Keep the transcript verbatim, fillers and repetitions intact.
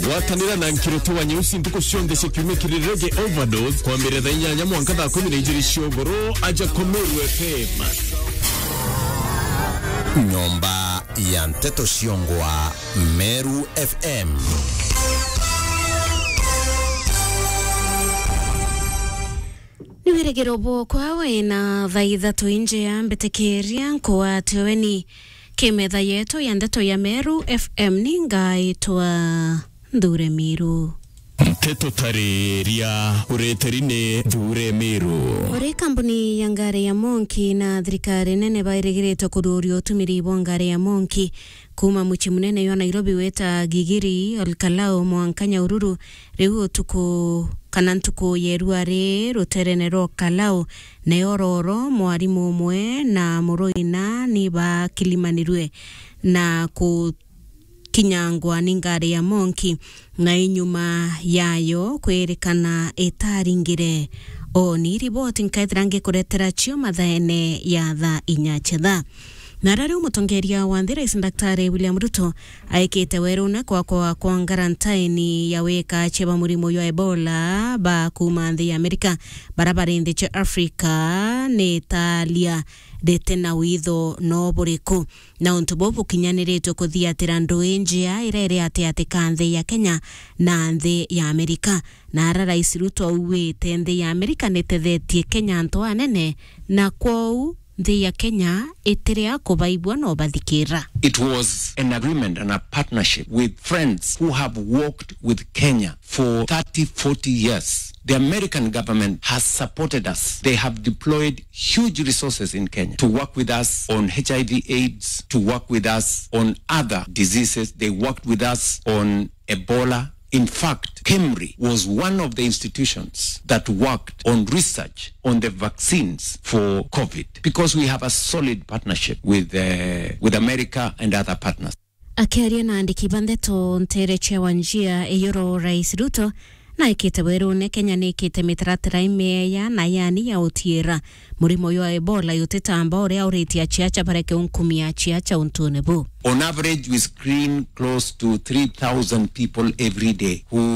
Gwatanira na Nkirutu wa Nyeusi ntuku cionthe cia kiumia kiri Reggae Overdose, kwambiria thaa inyanya mwanka thaa kumi na ijiri cia ugoro, aja kwa Meru F M. Nyomba ya nteto ciongwa, Meru F M. Ni wirigiro bwokwa wina thaa ithatu injea mbitikiria nkwatio weni. Kimetha yetu ya ndeto ya Meru F M ni ngaitwa Nthure Miru. Nteto tariria ureteri ni Nthure Miru. Uri kambuni ya ngari ya Monki na thirikari nene bairigiritwe kururia utumiri bwa ngari ya Monki kuma mucii munene jwa Nairobi wita Gigiri, Olkalau, mwanka Nyahururu, riu utuku kana ntuku ya irua ri ruterene rwa Olkalau, nayo Roro, mwarimu umwe na muruina ni bakilimanirue na kukinyangwa ni ngari ya Monki, na inyuma yayo kwirikana itaringire. O ni riboti nkaithira ngikuretera cio mathaene ya thaa inya cia thaa. Na ara riu mutongeria wa nthi, Rais Daktari William Ruto, aikite werune kwakwa kwa ngarantaini ya wika cia ba murimo jwa Ebola ba kuma nthi ya Amerika, bara bari nthi cia Afrika, ni italia riti na witho no buriku. Na untu buu bukinyaniritwe kuthiatira ndui njia iria iri atiati ka nthi ya Kenya na nthi ya Amerika. Na ara Rais Ruto augite nthi ya Amerika nitethetie Kenya antu anene, na kwou nthi ya Kenya itiria kubaigua no bathikira. It was an agreement and a partnership with friends who have worked with Kenya for thirty, forty years. The American government has supported us. They have deployed huge resources in Kenya to work with us on H I V AIDS, to work with us on other diseases. They worked with us on Ebola. In fact, KEMRI was one of the institutions that worked on research on the vaccines for COVID, because we have a solid partnership with, uh, with America and other partners. Akiaria na andiki ba ndeto ntere cia Wanjia Iyoro, Rais Ruto naikite werune Kenya nikite mitaratara imeeya na yani ya utiira murimo jwa Ebola jutitamba, uria uritie aciaca bareke unkumia aciaca untune buu. On average, we screen close to three thousand people every day who